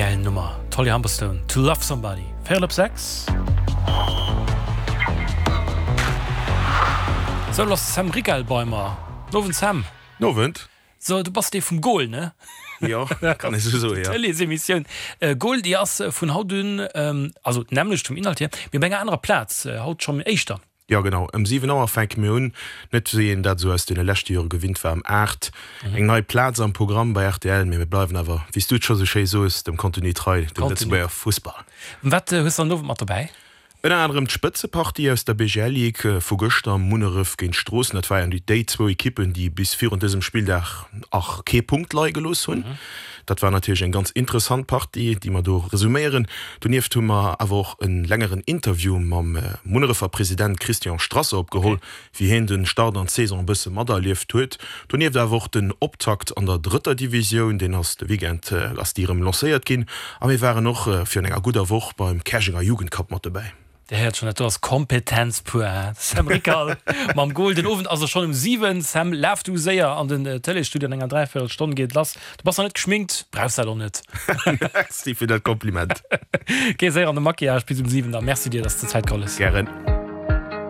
Gäil Nummer, d'Holly Humberstone, To Love Somebody, véierel op 6. Sou, lo ass de Sam Rickal bei mer. N'Owend Sam. N'Owend. So, du bass dee vum Goal, ne? Jo, kann ee sou soen, jo. D'Tëleesemissioun Goal, déi ass vun haut un, also d'nämmlecht vum Inhalt hier, mee op enger anerer Plaz, haut schonn éischter. Jo genau, ëm 7 Auer fänke mir un, net wéi een dat esou aus deene leschte Jore gewinnt war, ëm 8. Eng nei Plaz am Programm bei rtl, mee mir bleiwen awer, wéi s du et scho sou schéi soos, dem Contenu trei, dem Lëtzebuerger Fussball. Wat hues de an Owend mat dobäi? Ënner anerem d'Spëtzepartie aus der BGL Ligue vu gëschter, Munneref géint Stroossen. Dat waren déi zwou Ekippen, déi bis virun dësem Spilldag ach kee Punkt leie gelooss hunn. Dat war natierlech eng ganz interessant Partie, déi mer do resuméieren. Donieft hu mer awer och e längeren Interview mam Munnerefer President Christian Strasser opgeholl, wéi hien de Start an d'Saison e bësse materlieft huet. Donieft awer och den Optakt an der drëtter Divisioun, deen ass de Weekend ass déi erëm lancéiert ginn. A mir waren och virun enger gudder Woch beim Käerjenger Jugendcup mat dobäi. Dir héiert schon, dat do ass Kompetenz pur, he? Sam Rickal mam Goal. Den Owend ass e schon um 7. Sam, laf du séier an den Tëleesstudio, an enger dräivierel Stonn geet et lass. Du bass nach net geschminkt, brauchs dat och net. Merci fir dat Kompliment. Géi séier an de Maquillage bis um 7 da. Merci dir, dass de Zäit geholl hues. Gären.